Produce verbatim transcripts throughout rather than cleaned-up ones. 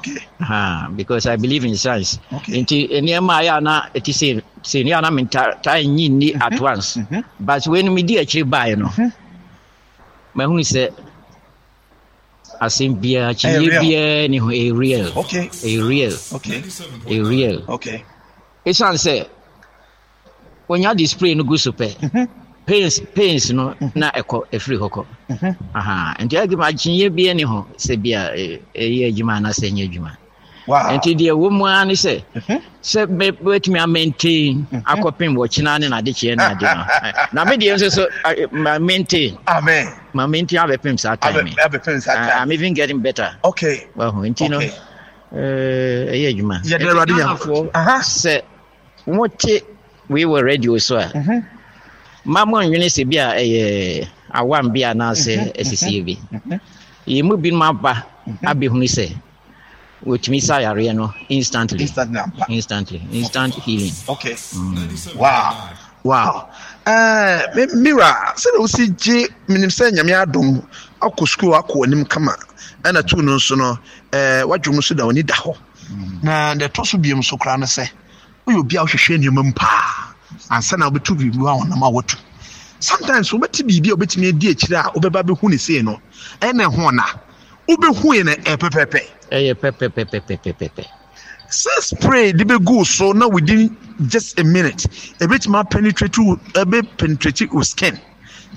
Okay. Ha, because I believe in science. Okay. Nti nneɛma a yɛ ana ɛte sɛ sɛ nneɛma na mentaa nyi nni at once. Mhm. But wei no medi akyire baeɛ no, mahunu sɛ asɛm biara, kyinyeɛ real. biara ni ho, ɛyɛ real. Okay. Ɛyɛ real. Okay. Ɛyɛ real. Okay. Ɛsiane sɛ wonya de spray no gu so pɛ, pains pains no na ɛkɔ, ɛfiri hɔ kɔ. Aha, nti adwuma akyinnye biara ni ho sɛ bia ɛyɛ adwuma anaasɛ ɛnyɛ adwuma. Wow. Nti deɛ wɔ mu ara ne sɛ sɛ bɛtumi amaintain akɔpem wɔkyena ne n'adekyeɛ ne ade no, na me deɛ nso so ma maintain. Amen. Ma maintain abɛpem saa time. Abɛpem saa time. I'm even getting better. Okay. Wahu, nti no Okay. ɛyɛ adwuma. Yɛde Awurade Nyankopɔn. Aha. Sɛ mote wei wɔ radio so a, ma mo nwene sɛ bi a ɛyɛ awam bi anaasɛ asisie bi. Yɛn mu binom aba abɛhunu sɛ wɔtumi sa yareɛ no instantly. Instantly ampa. Instantly, instant healing. Okay. Wow. Wow. Eh, me mira, sɛ na wosi gye menim sɛ Nyame adom akɔ sukuu akɔ anim kama, ɛna tu no nso no, eh, wadwom nso da w'ani da hɔ. Na deɛ ɛtɔ so biom so koraa no sɛ woyɛ obi a wohwehwɛ nneɛma mu paa ansa na wobɛtu biribi a wɔnam a watu. Sometimes wobɛte biribi a wobɛtumi adi akyire a wobɛba bɛhu ne sei no, ɛna ɛho na wobɛhu yɛ no ɛpɛpɛpɛ. Ɛyɛ pɛpɛpɛpɛpɛpɛ. Sɛ spray de bɛgu so na within just a minute ɛbɛtumi apenetrate wo, ɛbɛ penetrate wo skin,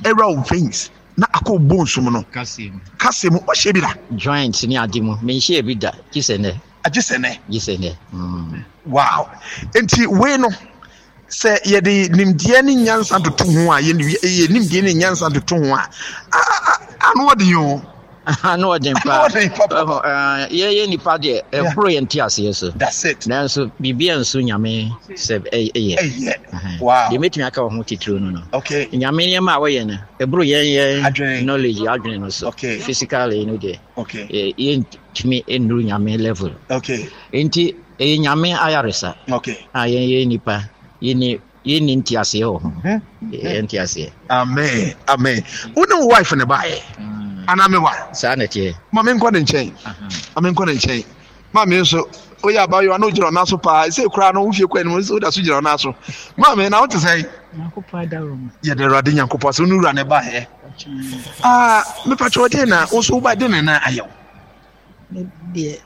ɛwura wo veins na akɔ wo bones mu no. Kase mu. Kase mu, wahyɛ bi da? Joint ne ade mu, menhyɛ bi da, gye sɛ nɛ. Agye sɛ nɛ. Gye sɛ nɛ. Mm. Wow. Nti wei no, sɛ yɛde nimdeɛ ne nyansa toto ho a, yɛ yɛ nimdeɛ ne nyansa toto ho a, ano ɔden o. Ano ɔden paa. Ano ɔden papa. Yɛyɛ nipa deɛ, ɛboro yɛn te aseɛ so. That's it. Nanso biribi a nso Nyame sɛ ɛyɛ. Ɛyɛ. Wow. Deɛ mɛtumi aka wɔ ho titiriw no no. Okay. Nyame nneɛma a wɔyɛ no, ɛboro yɛn yɛn Adwene. knowledge adwene no so. Okay. Physically no deɛ. Okay. Yɛntumi nnuru Nyame level. Okay. Nti ɛyɛ Nyame ayaresa. Okay. A yɛn yɛ nipa, yɛni yɛnni nteaseɛ wɔ ho. Yɛn nteaseɛ. Amen. Amen. Wo ne wo wife ne baayɛ? Anaa me wa? Saa na ɛteɛ. Ma me nkɔ ne nkyɛn. Ma me nkɔ ne nkyɛn. Maame nso, woyɛ abayewa na wogyina ɔnan so paa. Ɛsɛ koraa no, wofie kɔ anim, woda so gyina ɔnan so. Maame, na wote sɛn? Nyankopɔn adaworo. Yɛde Awurade Nyankopɔn sɛ wo ne wura ne baayɛ. Ah, mepa kyɛw, deɛ na wo nso woba de ne nan ayɛ wo? Me deɛ,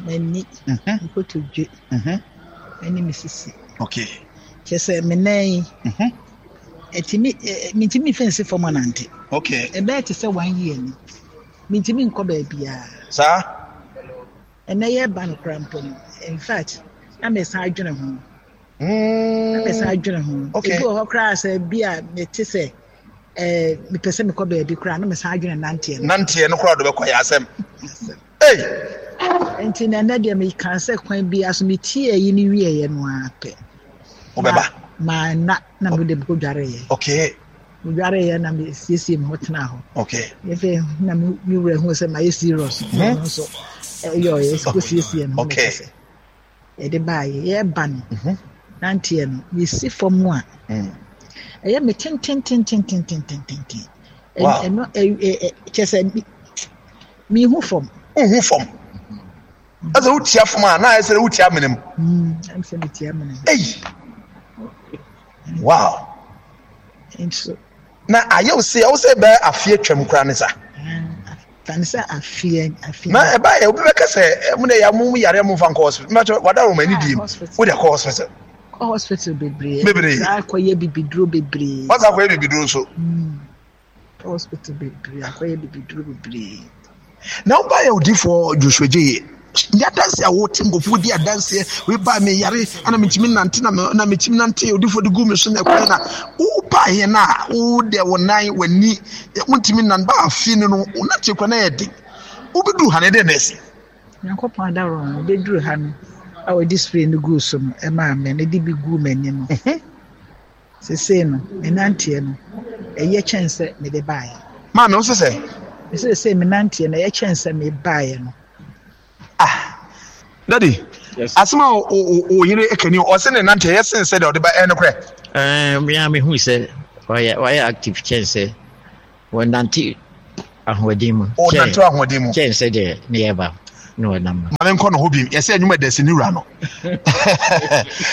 m'ani, nkotodwe, ɛne me sisi. Okay. Kyerɛ sɛ me nan yi, ɛtumi, mentumi mfa nsi fam anante. Okay. Ɛbɛyɛ te sɛ one year ni. Mentumi nkɔ baabiara. Saa? Ɛnɛ yɛ ba no koraa mpo no. In fact, na mesan adwene ho. Na mesan adwene ho. Okay. Ebi wɔ hɔ koraa sɛ bi a mete sɛ ɛɛ mepɛ sɛ mekɔ baabi koraa na mesan adwene nanteɛ no. Nanteɛ no koraa de bɛkɔ yɛ asɛm. Ei! Nti na ɛnɛ deɛ meka sɛ kwan biara so metie ayi ne wieɛ no ara pɛ. Wobɛba? Ma na na mede mekɔ dwareeɛ. Okay. Medwareeɛ na mesiesie me ho tena hɔ. Okay. Afei na me me wura hu sɛ mayɛ serious. Mhm. Ɔno nso ɛyɛ ɔyɛ kɔsiesie me ho. Okay. Mekɛ sɛ yɛde baayɛ yɛreba no. Mhm. Nanteɛ no yɛsi fam a Mm. ɛyɛ me tentententententententen. Wow. Ɛno ɛ ɛ kyɛ sɛ mi mihu fam. Wohu fam. Ɛsɛ wotia fam a na ayɛ sɛ wotia amena mu. Mm, ɛm sɛ metia amena mu. Ei! Wow. Nso. Na ayɛ wo sɛ, wo sɛ bɛyɛ afe atwam koraa ne sa. Tane sɛ afeɛ, afeɛ. Na ɛba yɛ, obi bɛka sɛ, mo de yɛ, mo yare mo mfa nkɔ hospital. Mɛkyɛ, wada wɔ m'ani die mu. Wo de kɔ hospital. Kɔ hospital bebree. Bebree. Saa akɔyɛ bibiduro bebree. Wasa akɔyɛ bibiduro nso. Mm. Kɔ hospital bebree, akɔyɛ bibiduro bebree. Na wo ba yɛ odifoɔ Joshua Gye. Ní adanse a wote nkɔfoɔ di adanseɛ, wei ba me yare, ɛna metumi nante na me, na metumi nante, odifoɔ de gu me so na ɛkwan na wo ba yɛ na wo de wo nan w'ani, wontumi nan ba afi no no, wo nante kwan na yɛ den. Wobɛduru ha na ɛdɛn na ɛsi? Nyankopɔn adaworo no, wobɛduru ha no, a wɔde spray no gu so no, ɛmaa me, na de bi gu m'ani no. Mhm. Sesei no, me nanteɛ no, ɛyɛ kyɛn sɛ mede baeɛ. Maame, wo sɛ sɛ? Sesei me nanteɛ no, ɛyɛ kyɛn sɛ me baeɛ no. Ah, Daddy, Yes. asɛm a o, o, o yere kani, ɔse ne nante ɛyɛ sen sɛ deɛ ɔde ba, ɛyɛ nokorɛ? Ɛɛ, me a mehu sɛ ɔyɛ, ɔyɛ active kyɛn sɛ wɔnante ahoɔden mu. Ɔnante ahoɔden mu. Kyɛn sɛ deɛ ne yɛ ba. Na ɔnam no. Ma menkɔ no hɔ bi, yɛsɛ anwuma dɛsi ne wura no.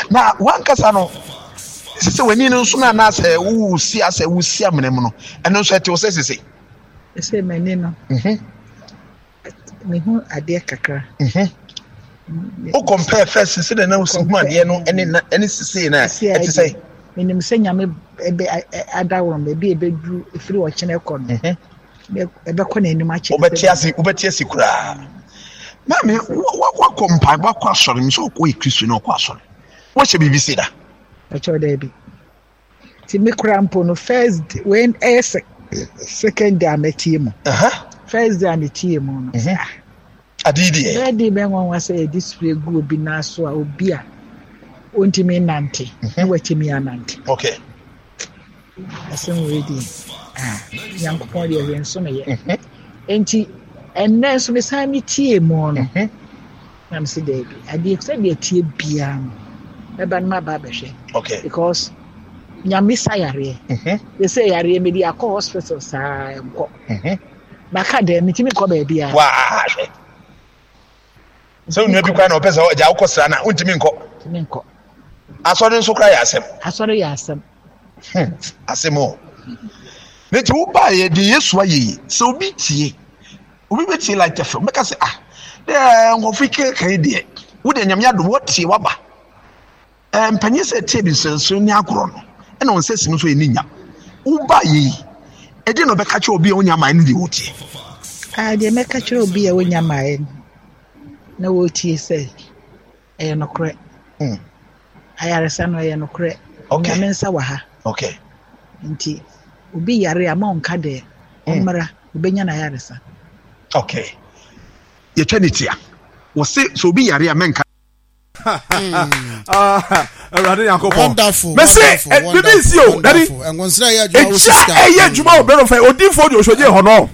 Na wankasa no sɛ w'ani no nso no anaasɛ wosi asɛ wosi amena mu no, ɛno nso ɛte wo sɛ sese? Sɛ m'ani no, Mhm. mehu adeɛ kakra. Mhm. Wo compare first sɛ dɛ na wosi hu adeɛ no ɛne na ɛne sese na ɛte sɛ? Menim sɛ Nyame ɛbɛ adaworo no, baabi a ɛbɛduru ɛfiri ɔkyena kɔ no, Mhm. ɛbɛkɔ n'anim akyɛ. Wobɛte ase, wobɛte ase koraa. Maame, wakɔ mpa, wakɔ asɔre, mi sɛ ɔkɔ yɛ Kristo na ɔkɔ asɔre. Wɔhyɛ biribi se da? Ɛkyɛw daabi. Ti me kora mpo no, first when ɛyɛ second day a mɛtie mu. First day a metie mu no. Mhm. Ade deɛ. Bɛɛ de bɛn nwanwa sɛ yɛde spray gu obi nan so a, obi a ontumi nante na watumi anante. Okay. Asɛm wei deɛ, ah, Nyankopɔn deɛ hwɛ nso no yɛ. Enti ɛnnɛ nso mesan metie mu no, na mese daabi, adeɛ sɛdeɛ tie biara no, mɛba no maba abɛhwɛ. Okay. Because Nyame sa yareɛ. Yɛ sɛ yareɛ mede akɔ hospital saa nkɔ. Maka dɛ metumi kɔ baabiara. Waa hwɛ. Sɛ onua bi kora na ɔpɛ sɛ ɔgya wokɔ sra na wontumi nkɔ. Ntumi nkɔ. Asɔre nso kora yɛ asɛm. Asɔre yɛ asɛm. Hmm, asɛm o. Ne ti wo baa yɛ de Yesu ayɛ yi, sɛ obi tie, obi bɛtie Light F M, bɛka sɛ ah, dɛ nkɔfo yi keka yi deɛ, wo deɛ Nyame adom wɔtie waba. Eh, mpanyin sɛ tie bi nsɛnso ne agorɔ no, ɛna wɔn sɛ sim nso yɛ ne nya. Wo baa yɛ yi, ɛdeɛ na ɔbɛka kyerɛ obi a onya maa no deɛ wɔtie? Ah, deɛ mɛka kyerɛ obi a onya maa no na wɔtie sɛ ɛyɛ nokorɛ. Mm. Ayaresa no ɛyɛ nokorɛ. Okay. Nyame nsa wɔ ha. Okay. Nti obi yare a ma ɔnka dɛ ɔmmra, obenya n'ayaresa. Okay. Yɛtwa ne tia. Wɔse sɛ obi yare a mɛnka. Awurade Nyankopɔn. Wonderful, Mese wonderful, eh, bibi nsi o, dadi. wonderful. Ɛngonsra yɛ adwuma wo Ekyia sika. ɛyɛ adwuma wɔ bɛrɛ fɛ odinfo de osogye hɔ no.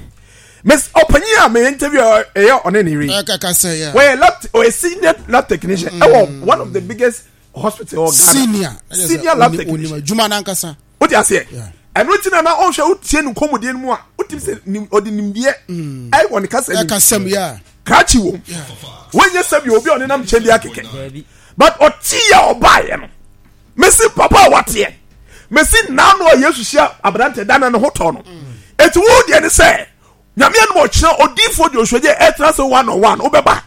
Mes ɔpanyin a me interview ɛyɛ ɔne ne yere. Ɛkaka sɛ yɛ. Wɔyɛ lab ɔyɛ senior lab technician ɛwɔ one of the biggest hospital wɔ Ghana. Senior. Senior lab technician. Onim adwuma n'ankasa. O ti aseɛ. Yeah. Ɛno ti na na ɔhwɛ o tie ne nkɔmɔdie no mu a o ti sɛ nim ɔde nimdeɛ ɛwɔ ne kasa nim. Ɛkasɛm yɛ. Krakye wɔ mu. Wɔnyɛ sɛbi obi a ɔnenam nkyɛn bi akɛkɛ. But ɔte yɛ ɔbaayɛ no. Mesi papa a wateɛ. Mesi nnaano a Yesu hyia aberante da na ne ho tɔ no. Eti wo deɛ ne sɛ Nyame anom ɔkyerɛ odiifoɔ deɛ ɔsua ɛtena sɛ one on one wobɛba.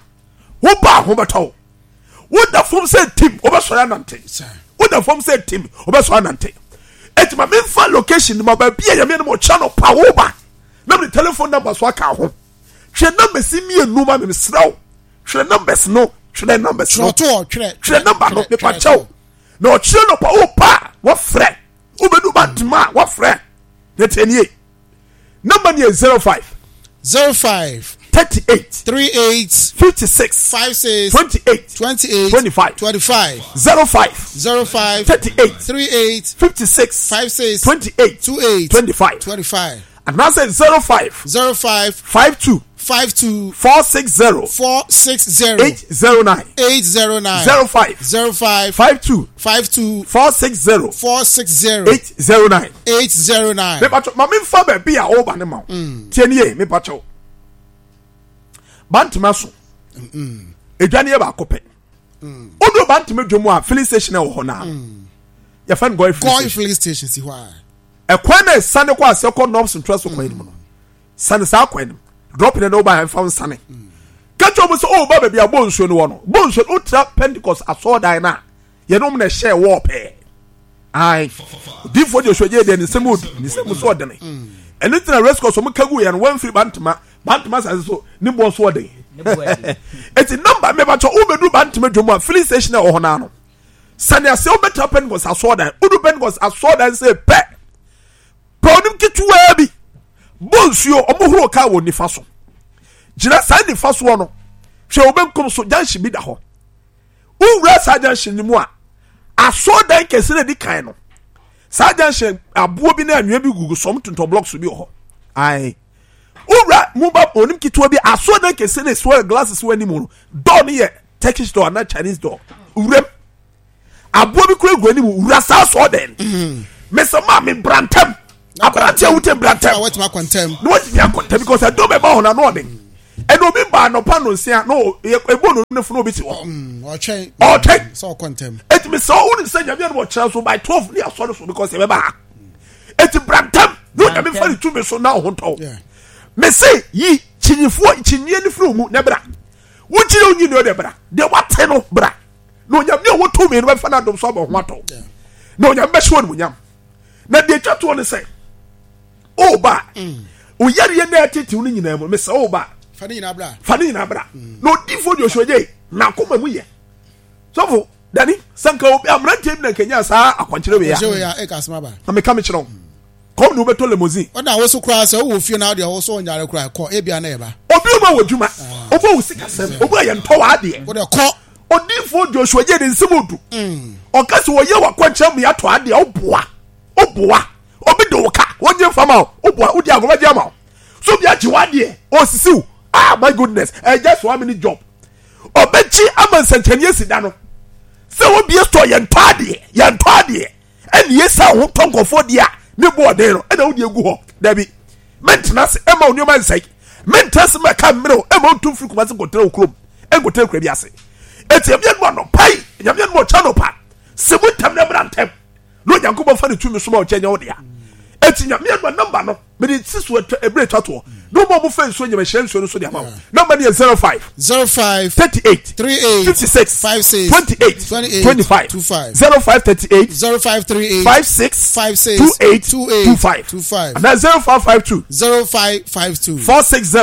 Woba ho bɛtɔ wo. Woda fam sɛ tim wobɛsɔre anante. Woda fam sɛ tim wobɛsɔre anante. Eti ma memfa location ma baabi a Nyame anom ɔkyerɛ no pa woba. Na mede telephone number so aka ho. Twerɛ numbers mmienu ma me mesrɛ wo. Twerɛ numbers no, twerɛ numbers no. Twerɛ Twerɛ number no, mepa kyɛw. Na ɔkyerɛ no pa wo pa wɔfrɛ. Wobɛdu ba ntoma a wɔfrɛ. Na tie nie. Number ni yɛ zero five. Zero five. Thirty eight. Three eight. Fifty six. Five six. Twenty eight. Twenty eight. Twenty five. Twenty five. Zero five. Zero five. Thirty eight. Three eight. Fifty six. Five six. Twenty eight. Two eight. Twenty five. Twenty five. And now say zero five. Zero five. Five two. Five two. Four six zero. Four six zero. Eight zero nine. Eight zero nine. Zero five. Zero five. Five two. Five two. Four six zero. Four six zero. Eight zero nine. Eight zero nine. Me pacho, ma me nfa baabi a ɔba ne ma wo. Tie nie, me pacho. Bantama so. Edwa ne yɛ baako pɛ. Odo Bantama dwom a filling station wɔ hɔ naa. Yɛfɛ no Goy filling Goy station. filling station si hɔ a. Ɛkwan na esane kɔ ase kɔ North Central so kwan mu no. Sane saa kwan no. Drop ne na woba mfa nsane. Kakyɛ wɔn sɛ o ba baabi a bɔ nsuo no wɔ no. Bɔ nsuo no wotra Pentecost asɔɔdan no a yɛnom na ɛhyɛ wɔ pɛɛ. Ae. Odiifoɔ Joshua gye deɛ ne nsɛm odi ne nsɛm so ɔdene. Ɛno nti na Race Course wɔn ka gu yɛn no wɔmfiri Bantama Bantama asase so ne boɔ so ɔden. Eti namba mmebakyɛ wobɛduru Bantama dwom a filling station a ɛwɔ hɔ naa no. Sane ase wobɛtra Pentecost asɔɔdan. Wodu Pentecost asɔɔdan sɛ pɛ. Pɛ onim ketewaa bi. Bɔ nsuo ɔmo horo kaa wɔ nifa so. Gyina saa nifa soɔ no. Hwɛ wo benkum so junction bi da hɔ. Wowura saa junction no mu a asɔɔdan kɛse na edi kan no. Saa junction aboɔ bi ne anwea bi gugu so ɔmo tontɔn blocks bi wɔ hɔ. Ae. Wowura mu ba onim ketewa bi asɔɔdan kɛse na esi hɔ glasses wɔ anim no. Door no yɛ Turkish door anaa Chinese door. Wuram. Aboɔ bi kura gu anim wura saa asɔɔdan. Mesa maa mi brantam. Aberante a wote brantam. Na watumi akɔ ntɛm. Na watumi akɔ ntɛm because ɛdɔm ɛba hɔ na ano ɔden. Ɛna obi ba anɔpa no nsia na ebo no ne funu obi ti hɔ. Mm, ɔtwɛn. Ɔtwɛn. Sɛ ɔkɔ ntɛm. Eti mi sɛ ɔwɔ sɛ Nyame ɛna ɔkyerɛ so by twelve ne asɔre so because ɛbɛba ha. Eti brantam na Onyame fa ne tumi so na ɔho ntɔw. Mɛ se yi kyinyifoɔ kyinyiɛ ne firi mu na bra. Wokyerɛ onyi ne ɔde bra. Deɛ wate no bra. Na Onyame a ɔwɔ tumi no bɛfa n'adom so abɔ ho atɔ. Na Onyame bɛhyɛ wɔn munyam. Na deɛ etwa toɔ ne sɛ ɔba oyareɛ na ɛtetew no nyinaa mu mesɛ ɔba fa ne nyinaa bra fa ne nyinaa bra na odiifoɔ Joshua gye na akoma mu yɛ sɔfo dani sanka obi aberanteɛ bi na nkenya saa akwankyerɛ wei a ɛka asɛm aba na meka mekyerɛ wo kɔm ne wobɛtɔ limousine ɔna wo so koraa sɛ wowɔ fie na wodeɛ wo so ɔnyare koraa kɔ ebia na ɛba obi ɔma wɔ adwuma obi wɔ sikasɛm obi a yɛntɔ wɔ adeɛ wode kɔ odiifoɔ Joshua gye ne nsɛm odu ɔka sɛ wɔyɛ wakwankyerɛ mu yɛatɔ adeɛ woboa woboa obi de wo ka wonye nfa ma wo woboa wodi agorɔ ama wo so obi agye w'adeɛ osisi wo ah my goodness ɛyɛ just one minute job ɔbɛkyi ama nsɛnkyɛnni esi da no sɛ obie store yɛn tɔ adeɛ yɛn tɔ adeɛ ɛna yɛ sa ho tɔ nkɔfoɔ deɛ a ne bo ɔden no ɛna wodi egu hɔ dabi mɛntena ase ɛma onneɛma nsɛn mɛntena ase mɛka mmerɛw ɛma otu firi Kumasi nkɔtena wɔ kurom ɛnkɔtena kura bi ase eti ɛmi ɛnu anɔpa yi nyame ɛnu ɔkyɛ anɔpa sɛ mu ntɛm na ɛmra ntɛm na Onyankopɔn fa ne tumi soma ɔkyɛ nyɛ wo dea eti Nyame ɛnu namba no mede si so ebere twa toɔ na ɔmo a ɔmo fɛ nsuo nyɛmɛ hyɛ nsuo no so de ama wo namba no yɛ zero five zero five thirty eight three eight fifty six five six twenty eight twenty eight twenty five two five zero five thirty eight zero five three eight five six five six two eight two eight two five two five and then zero five five two zero five five two four six zero